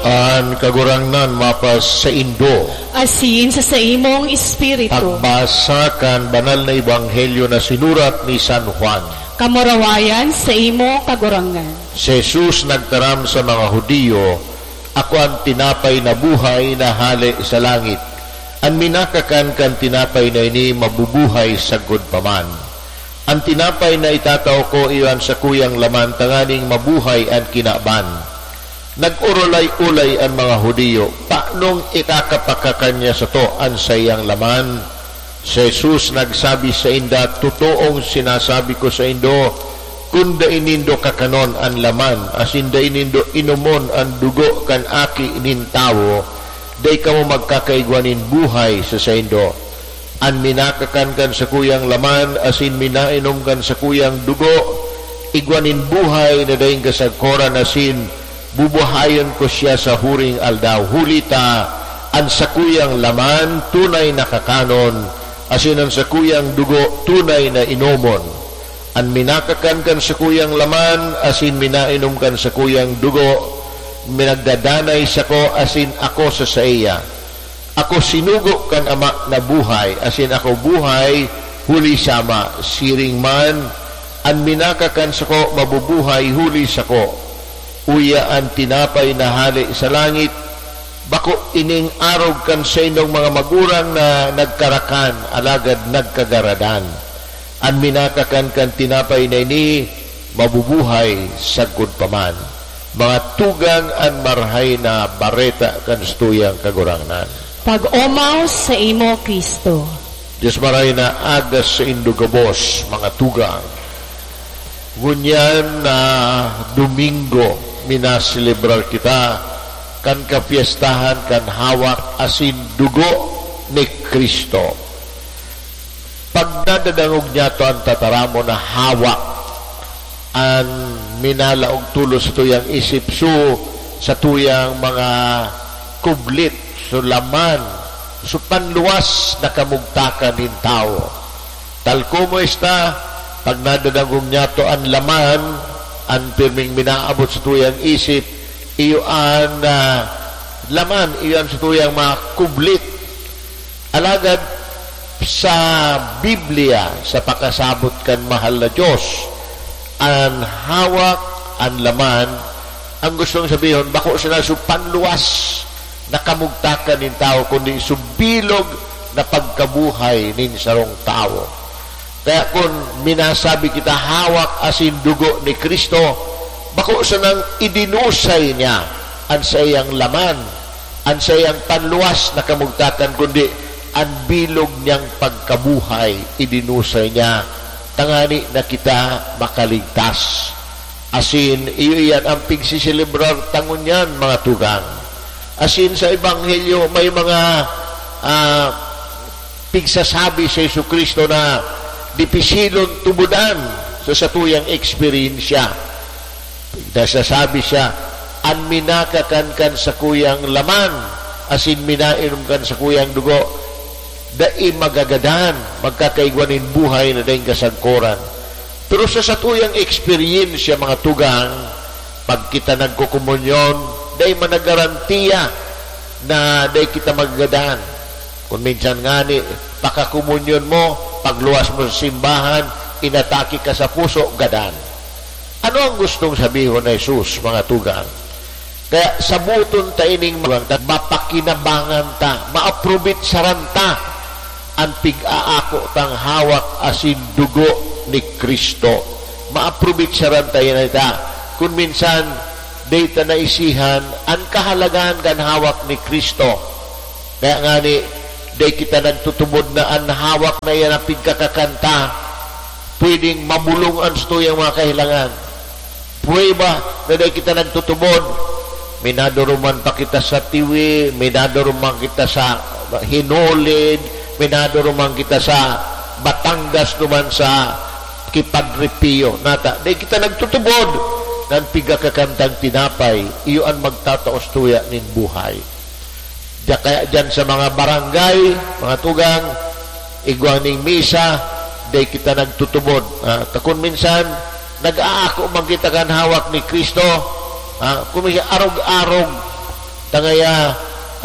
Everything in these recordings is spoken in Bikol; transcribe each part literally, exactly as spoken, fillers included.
An Kagurangnan mapasaindo. Asin sa saimong espiritu. Pagbasa kan Banal na Ebanghelyo na sinurat ni San Juan. Kamurawayan saimo, Kagurangnan. Si Jesus nagtaram sa mga Judio, "Ako an tinapay na buhay na hale sa langit. An minakakan kan tinapay na ini mabubuhay sagkod pa man. An tinapay na itatao ko iyo an sakuyang laman tanganing mabuhay an kinaban." Nag-orolay-olay an mga Judio, "Tanong ikakapakakan niya sato an saiyang laman?" Si Jesus nagsabi sainda, "Totoong sinasabi ko saindo, kun dai nindo kakanon an laman asin dai nindo inomon an dugo kan Aki nin Tawo, dai kamo magkakaigwa nin buhay sa saindo. An minakakan kan sakuyang laman asin minainom kan sakuyang dugo, igwa nin buhay na daing kasagkoran asin bubuhayon ko siya sa huring aldaw. Huli ta, an sakuyang laman tunay na kakanon, asin an sakuyang dugo tunay na inomon. An minakakan kan sakuyang laman asin minainom kan sakuyang dugo, minagdadanay sako asin ako sa saiya. Ako sinugo kan Ama na buhay, asin ako buhay huli sa Ama. Siring man, an minakakan sako mabubuhay huli sako. Uya an tinapay na hale sa langit, bako ining arog kan saindong mga magurang na nagkarakan, alagad nagkagaradan. An minakakan kan tinapay na ini, mabubuhay sagkod pa man." Mga tugang, an Marahay na Bareta kan satuyang Kagurangnan. Pag-omaw saimo, Cristo. Dios Marahay na aga saindo gabos, mga tugang. Ngunyan na Domingo, minaselebrar kita kan kapyestahan kan hawak asin dugo ni Cristo. Pag nadadangog niyato an tataramon na hawak, an minalaog tolos sa tuyang isip, so, sa tuyang mga kublit, so, laman, so, panluwas na kamugtakan nin tawo. Tal como esta, pag nadadangog niyato an laman, an pirming minaabot sa tuyang isip, iyo an, ah, laman, iyo an sa tuyang mga kublit. Alagad sa Biblia, sa pakasabot kan mahal na Dios, an hawak, an laman, an gustong sabihon, bako sana so panluwas na kamugtakan nin tawo, kundi so bilog na pagkabuhay nin sarong tawo. Kaya kun minasabi kita, "Hawak asin dugo ni Cristo," bako sanang idinusay niya an saiyang laman, an saiyang panluwas na kamugtakan, kundi an bilog niyang pagkabuhay idinusay niya, tangani na kita makaligtas. Asin iyo iyan an pigseselebrar ta ngunyan, mga tugang. Asin sa Ebanghelyo, may mga, ah, pigsasabi si Jesu-Cristo na dipisilon tubodan sa satuyang eksperyensya. Nagsasabi siya, "An minakakan kan sakuyang laman asin minainom kan sakuyang dugo, dai magagadan, magkakaigwa nin buhay na daing kasagkoran." Pero sa satuyang eksperyensya, mga tugang, pag kita nagkokomunyon, dai man naggarantiya na dai kita magagadan. Kun minsan ngani, pakakomunyon mo, pagluwas mo sa simbahan, inatake ka sa puso, gadan. Ano ang gustong sabihon ni Jesus, mga tugang? Kaya saboton ta ining mga, mapakinabangan ta, maaprobitsaran ta an pig-aako tang hawak asin dugo ni Cristo. Maaprobitsaran ta yan ita. Kun minsan, dai ta naisihan an kahalagahan kan hawak ni Cristo. Kaya ngani, dai kita nagtutubod na an hawak na iyan na pigkakakan ta, pwedeng mabulong an satuyang mga kahilangan. Prueba na dai kita nagtutubod. Minaduruman pa kita sa Tiwi, minaduruman kita sa Hinulid, minaduruman kita sa Batangas duman sa ki Padre Pio. Nata, dai kita nagtutubod na an pigkakakan tang tinapay, iyo an magtatao sa tuya nin buhay. Diya kaya diyan sa mga barangay, mga tugang, igwa ning misa, dai kita nagtutubod. Ah, ta kun minsan, nag-aako man kita kan hawak ni Cristo. Ah, kun minsan, arog-arog. Tangaya,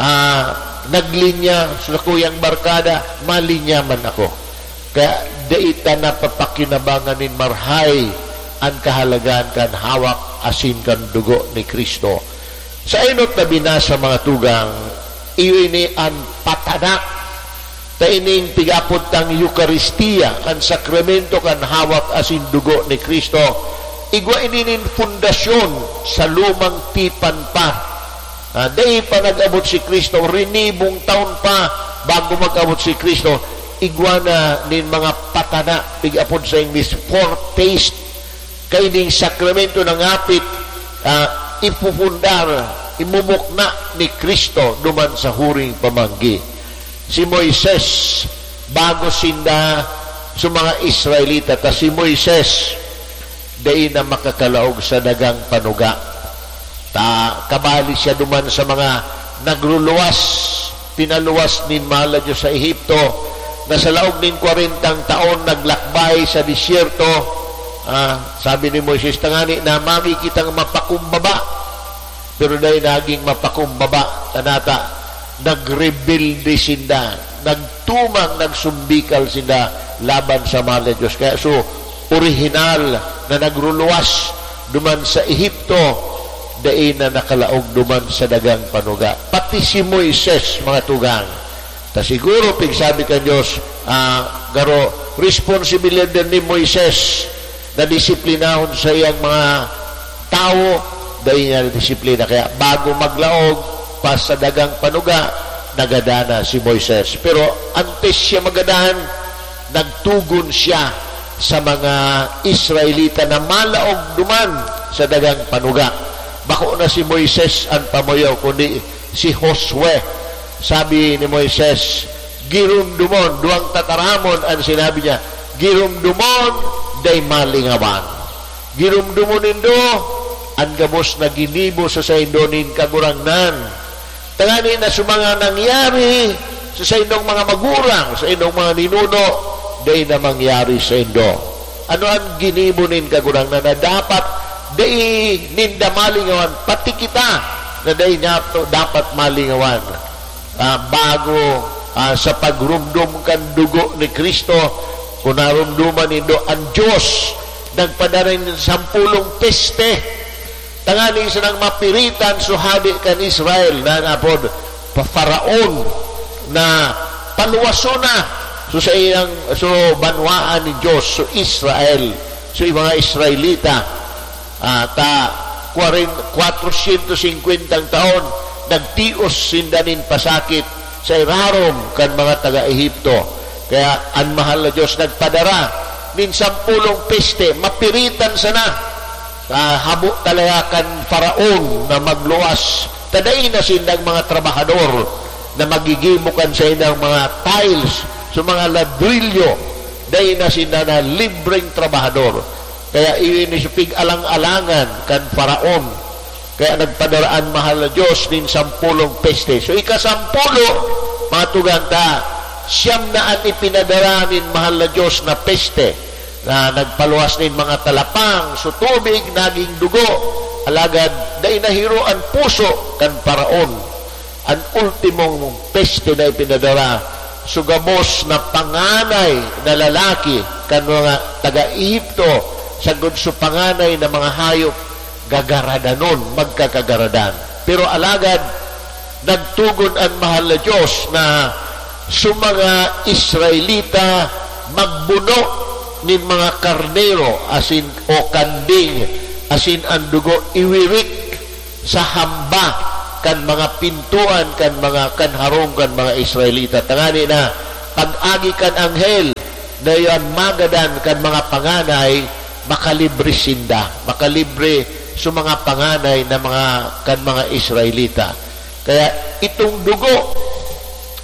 ah, naglinya sa sakuyang barkada, malinya man ako. Kaya dai ta napapakinabangan nin marhay an kahalagahan kan hawak asin kan dugo ni Cristo. Sa enot na binasa, mga tugang, iyo ini an patana ta ining pig-apod tang Eukaristia, an sakramento kan hawak asin dugo ni Cristo. Igwa ini nin pundasyon sa lumang tipan pa. Ah, dai pa nag-abot si Cristo, rinibong taon pa bago mag-abot si Cristo. Igwa na nin mga patana, pig-apod sa English, foretaste. Kaining sakramento na ngapit, ah, ipupundar, imumukna ni Cristo duman sa huring pamanggi. Si Moises, bago sinda sa mga Israelita, ta si Moises, dai na makakalaog sa dagang panuga. Ta kabali siya duman sa mga nagruluwas, pinaluwas nin mahal na Diyos sa Ehipto, na sa laog nin kwarentang taon naglakbay sa disyerto. Ah, sabi ni Moises, "Tangani na magi kitang mapakumbaba." Pero dai naging mapakumbaba, tanata, nagrebelde sinda, nagtumang, nagsumbikal sinda laban sa mahal na Diyos. Kaya so, orihinal na nagruluwas duman sa Ehipto, dai na nakalaog duman sa dagang panuga. Pati si Moises, mga tugang. Ta siguro, pigsabi kan Diyos, ah, garo, responsibilidad ni Moises na disiplinahon sa iyang mga tawo, dai niya disiplina. Kaya bago maglaog pa sa dagang panuga, nagadan na si Moises. Pero antes siya magadan, nagtugon siya sa mga Israelita na malaog duman sa dagang panuga. Bako na si Moises an pamuyaw, kundi si Josue. Sabi ni Moises, "Giromdomon," duwang tataramon an sinabi niya, "Giromdomon, dai malingawan. Giromdomon nindo an gabos na ginibo sa saindo nin Kagurangnan. Tangani na sa mga nangyari sa saindong mga magurang, sa indong mga ninuno, dai na mangyari saindo." Ano an ginibo nin Kagurangnan na dapat dai ninda malingawan, pati kita na dai niya to dapat malingawan? Ah, bago, ah, sa pagromdom kan dugo ni Cristo, kung naromdoman nindo, an Diyos nagpadara nin sampolong peste, tangani sanang mapiritan so hade kan Israel na napod pa Faraon na paluwason na so saiyang, so banwaan ni Diyos, so Israel, so mga Israelita. Ah, ta, kwaren-, kwatrosyentos singkwentang taon, nagtios sinda nin pasakit sa irarom kan mga taga-Egipto. Kaya an mahal na Diyos nagpadara nin sampolong peste, mapiritan sana. Ah, habo talaga kan Faraon na magluwas. Ta dai na sindang mga trabahador na magigibo kan saindang mga tiles, sa mga ladrilyo. Dai na sinda na libreng trabahador. Kaya iyo ini sa pig-alang-alangan kan Faraon. Kaya nagpadara an mahal na Diyos nin sampolong peste. So, ikasampulo, mga tugang ta, siyam na an ipinadara nin mahal na Diyos na peste, na nagpaluwas nin mga talapang, so tubig naging dugo. Alagad dai nahiro an puso kan Faraon. An ultimong peste na ipinadara, so gabos na panganay na lalaki kan mga taga-Egipto, sagkod so panganay na mga hayop, gagaradanon, magkakagaradan. Pero alagad, nagtugon an mahal na Diyos na so mga Israelita magbuno nin mga karnero asin, o kanding, asin an dugo iwirik sa hamba kan mga pintoan kan mga, kan harong kan mga Israelita, tangani na pag-agi kan anghel na iyan magadan kan mga panganay, makalibre sinda, makalibre sa mga panganay na mga, kan mga Israelita. Kaya itong dugo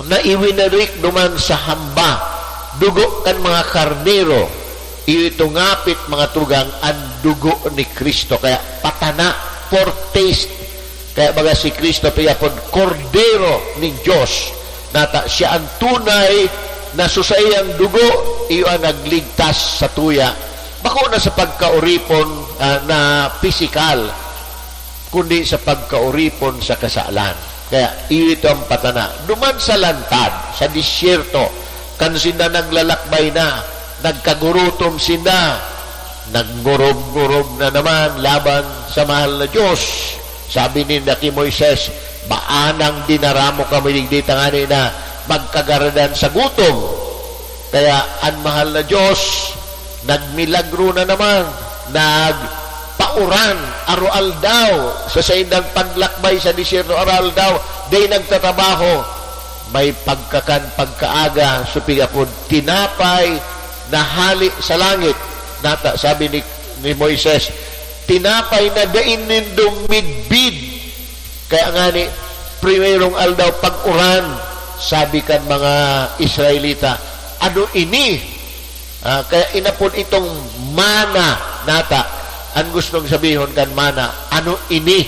na iwinarik duman sa hamba, dugo kan mga karnero, iyo ito ngapit, mga tugang, an dugo ni Cristo. Kaya patana, foretaste. Kaya baga si Cristo piyapod Kordero nin Diyos, nata siya an tunay na sa saiyang dugo, iyo an nagligtas sa tuya. Bako na sa pagkaoripon, ah, na pisikal, kundi sa pagkaoripon sa kasalan. Kaya iyo ito ang patana. Duman sa lantad, sa disyerto, kan sinda naglalakbay na, nagkagurutom sinda, nagngurog-ngurog na naman laban sa mahal na Diyos. Sabi ninda ki Moises, "Baanang dinara mo kami digdi tangani na magkagaradan sa gutom?" Kaya an mahal na Diyos nagmilagro na naman, nagpauran, aroaldaw, sa saindang paglakbay sa disyerto, aroaldaw, dai nagtatrabaho. May pagkakan pagkaaga, supig apod tinapay na hale sa langit. Nata, sabi ni, ni Moises, "Tinapay na dai nindo midbid." Kaya ngani, primerong aldaw, pag-uran, sabi kan mga Israelita, "Ano ini?" Ah, kaya inapod itong mana nata. An gustong sabihon kan mana, "Ano ini?"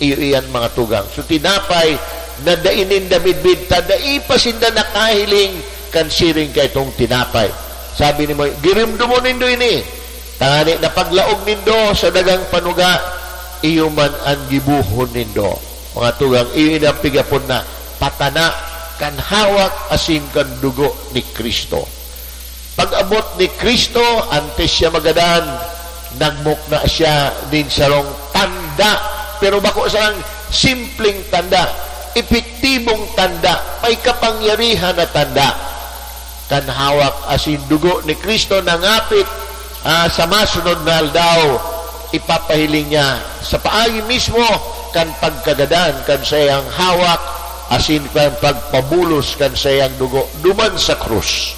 Iyo iyan, mga tugang. So, tinapay na dai ninda midbid ta dai pa sinda nakahiling kan siring kaitong tinapay. Sabi ni Moy, "Giromdomon nindo ini. Tangani na paglaog nindo sa dagang panuga, iyo man an gibohon nindo." Mga tugang, iyo ini an pig-apod na patana kan hawak asin kan dugo ni Cristo. Pag-abot ni Cristo, antes siya magadan, nagmukna siya nin sarong tanda. Pero bako sarang simpleng tanda, epektibong tanda, may kapangyarihan na tanda. Kan hawak asin dugo ni Cristo na ngapit, ah, sa masunod na aldaw, ipapahiling niya sa paagi mismo kan pagkagadan kan saiyang hawak asin kan pagpabulos kan saiyang dugo duman sa krus.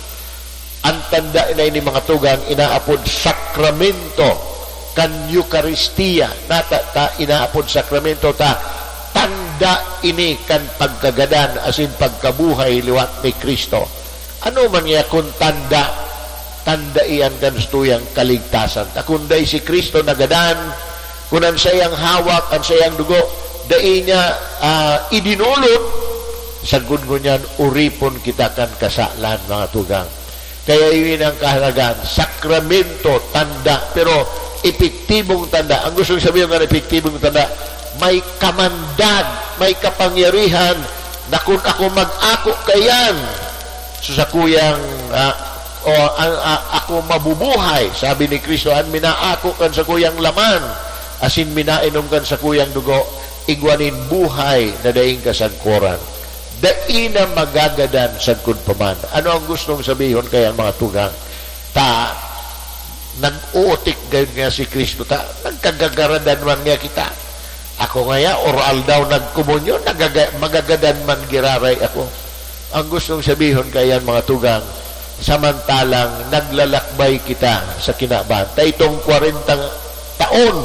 An tanda na ini, mga tugang, inaapod sakramento kan Eukaristia. Nata ta inaapod sakramento ta tanda ini kan pagkagadan asin pagkabuhay liwat ni Cristo. Ano man niya kun tanda? Tanda iyan kan satuyang kaligtasan. Ta kun dai si Cristo nagadan, kun an saiyang hawak, an saiyang dugo, dai niya, ah, idinulot, sagkod ngunyan, oripon kita kan kasalan, mga tugang. Kaya iyon ang kahalagan. Sakramento, tanda, pero epektibong tanda. Ang gustong sabihin ng epektibong tanda, may kamandag, may kapangyarihan na kun ako mag-ako kaiyan sa sakuyang, ah, o ang, ah, ako mabubuhay, sabi ni Cristo, an minaako kan sakuyang laman, asin minainom kan sakuyang dugo, igwa nin buhay na daing kasagkoran. Dai na magagadan sagkod pa man. Ano ang gustong sabihon kaya, mga tugang? Ta, nag-uutik gayud nga si Cristo, ta, nagkagagaradan man nga kita. Ako ngaya, aroaldaw nagkomunyon, nagaga-, magagadan man giraray ako. Ang gustong sabihon kaiyan, mga tugang, samantalang naglalakbay kita sa kinaban. Ta itong kwarenta taon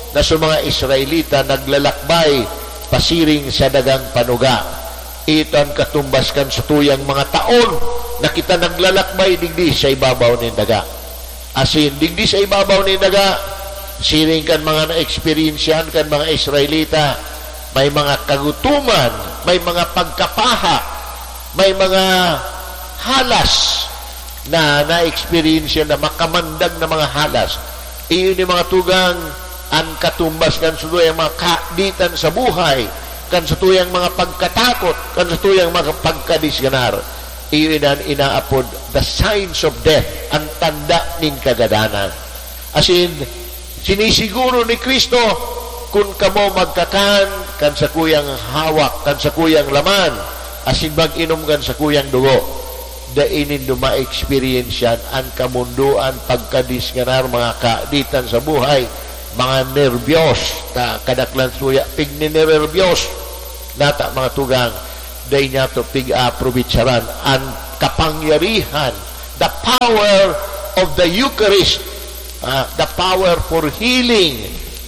na sa mga Israelita naglalakbay pasiring sa dagang panuga. Ito an katumbas kan satuyang mga taon na kita naglalakbay digdi sa ibabaw nin daga. Asin, digdi sa ibabaw nin daga, siring kan mga naeksperyensyahan kan mga Israelita, may mga kagutoman, may mga pagkapaha, may mga halas na naeksperyensya na makamandag na mga halas. Iyo ni, mga tugang, an katumbas kan satuyang mga kaaditan sa buhay, kan satuyang mga pagkatakot, kan satuyang mga pagkadisganar. Iyo ini an inaapod the signs of death, an tanda nin kagadanan. Asin, sinisiguro ni Cristo, kun kamo magkakan kan sakuyang hawak, kan sakuyang laman, asin mag-inom kan sakuyang dugo, dai nindo ma-eksperyensyahan an kamondoan, pagkadisganar, mga kaaditan sa buhay, mga nerbiyos, ta kadaklan suya, pigninererbiyos. Nata, mga tugang, dai niyato pig-aaprovechar an kapangyarihan, the power of the Eucharist, ah, the power for healing.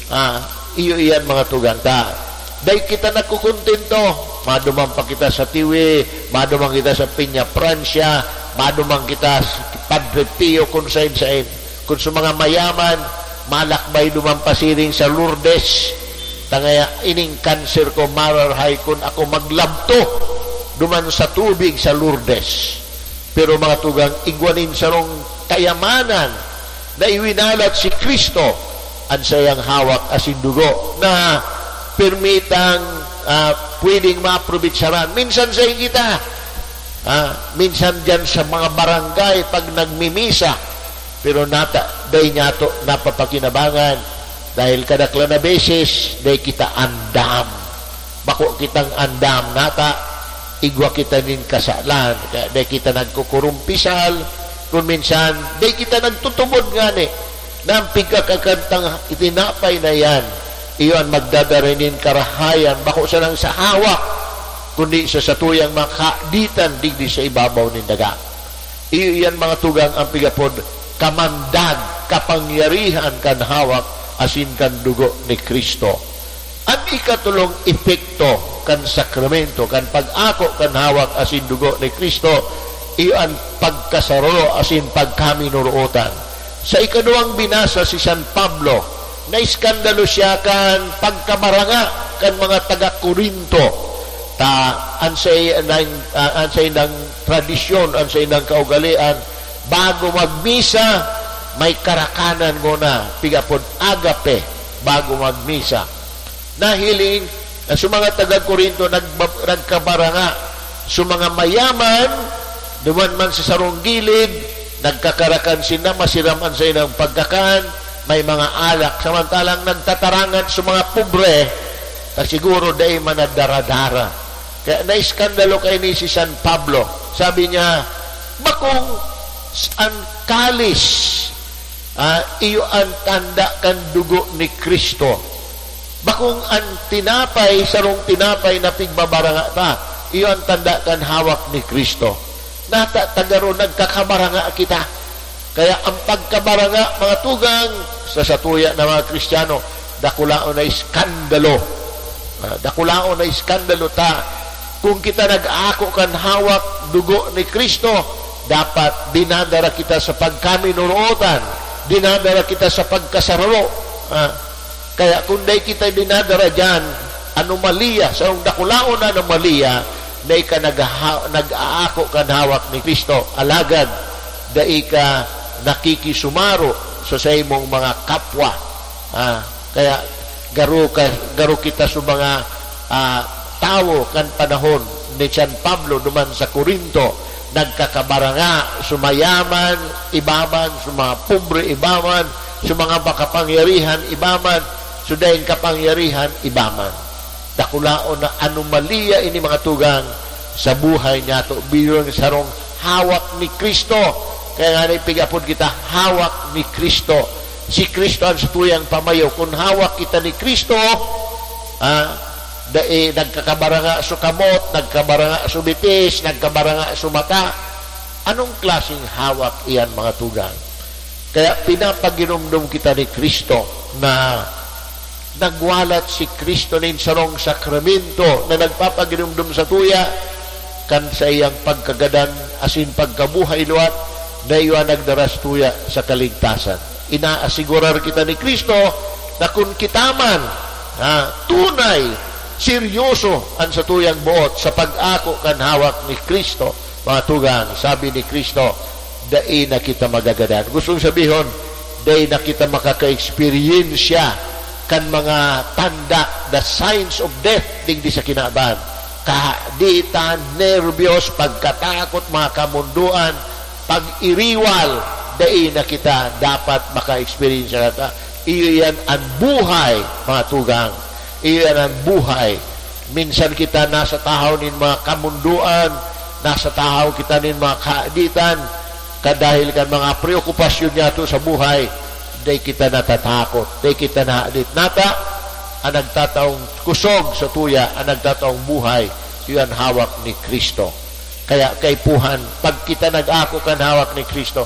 Ah, iyo iyan, mga tugang, ta dai kita nagkukontento. Maduman pa kita sa Tiwi, maduman kita sa Peñafrancia, maduman kita sa Padre Pio, kun sain-sain. Kun sa mga mayaman, malakbay duman pasiring sa Lourdes. Tangaya, ining kanser ko mararahay kun ako maglabto duman sa tubig sa Lourdes. Pero, mga tugang, igwa nin sarong kayamanan na iwinalat si Cristo, an saiyang hawak asin dugo na pirmitang, ah, pwedeng maaprovechar. Minsan sa kita, ah, minsan diyan sa mga barangay pag nagmimisa, pero nata-, dai niyato napapakinabangan dahil kadaklan na beses, dai kita andam. Bako kitang andam, nata, igwa kita nin kasalan, kaya dai kita nagkukurumpisal, kun minsan, dai kita nagtutubod ngani. Na an pigkakakan tang tinapay na iyan, iyo an magdadara nin karahayan, bako sanang sa hawak, kundi sa satuyang mga kaaditan digdi sa ibabaw nin daga. Iyo iyan, mga tugang, an pig-apod kamandag, kapangyarihan kan hawak asin kan dugo ni Cristo. An ikatolong epekto kan sakramento, kan pag-ako kan hawak asin dugo ni Cristo, iyo an pagkasararo asin pagkaminorootan. Sa ikaduwang binasa si San Pablo, naiskandalo siya kan pagkabaranga kan mga taga Corinto. Ta, an saindang, ah, an saindang tradisyon, an saindang kaugalean, bago magmisa, may karakanan ngona, pig-apod agape, bago magmisa. Nahiling na sa mga taga Corinto nagba-, nagkabaranga. Sa mga mayaman, duman man sa sarong gilid, nagkakarakan sinda, masiram an saindang pagkakan, may mga alak. Samantalang nagtatarangan sa mga pobre, ta siguro dai man nadaradara. Kaya naiskandalo kaini si San Pablo. Sabi niya, "Bakong s-, an kalis, ah, iyo an tanda kan dugo ni Cristo. Bakong an tinapay, sarong tinapay na pigbabaranga ta, iyo an tanda kan hawak ni Cristo." Nata, tagaro, nagkakabaranga kita. Kaya an pagkabaranga, mga tugang, sa satuya na mga Kristiyano, dakulaon na iskandalo. Ah, dakulaon na iskandalo ta. Kung kita nag-aako kan hawak, dugo ni Cristo, dapat dinadara kita sa pagkaminorootan, dinadara kita sa pagkasararo. Ah, kaya kung dai kita dinadara diyan, anomalya, sarong dakulaon na anomalya, dai ka nagha-, nag-aako kan hawak ni Cristo. Alagad, dai ka nakikisumaro sa saimong mga kapwa. Ah, kaya garo ka, garo kita sa mga, ah, tawo kan panahon ni San Pablo duman sa Corinto, nagkakabaranga, sa mayaman, iba man, sa mga pobre, iba man, sa mga makapangyarihan, iba man, sa daing kapangyarihan, iba man. Dakulaon na anomalya ini, mga tugang, sa buhay niyato. Bilang sarong hawak ni Cristo. Kaya nga, ipigapod kita, hawak ni Cristo. Si Cristo ang satuyang pamayo. Kung hawak kita ni Cristo, ah, dai nagkakabaranga sa kamot, nagkabaranga sa bitis, nagkabaranga sa mata. Anong klaseng hawak iyan, mga tugang? Kaya pinapaginumdom kita ni Cristo na nagwalat si Cristo nin sarong sakramento na nagpapaginumdom satuya kan saiyang pagkagadan asin pagkabuhay liwat na iyo an nagdara satuya sa kaligtasan. Inaasigurar kita ni Cristo na kun kita man, ha, tunay, seryoso an satuyang boot sa pag-ako kan hawak ni Cristo, mga tugang, sabi ni Cristo, dai na kita magagadan. Gustong sabihon, dai na kita makaka-eksperyensya kan mga tanda, the signs of death, digdi sa kinaban. Kahaditan, nerbiyos, pagkatakot, mga kamundoan, pag-iriwal, dai na kita dapat maka-eksperyensya kata. Iyo yan an buhay, mga tugang. Iyo yan an buhay. Minsan kita nasa tahaw nin mga kamundoan, nasa tahaw kita nin mga kahaditan, kadahil kan mga preokupasyon niyato sa buhay, dai kita natatakot, dai kita nahadit. Nata, an nagtataong kusog satuya, an nagtataong buhay, iyo an hawak ni Cristo. Kaya kaipuhan, pag kita nag-ako kan hawak ni Cristo,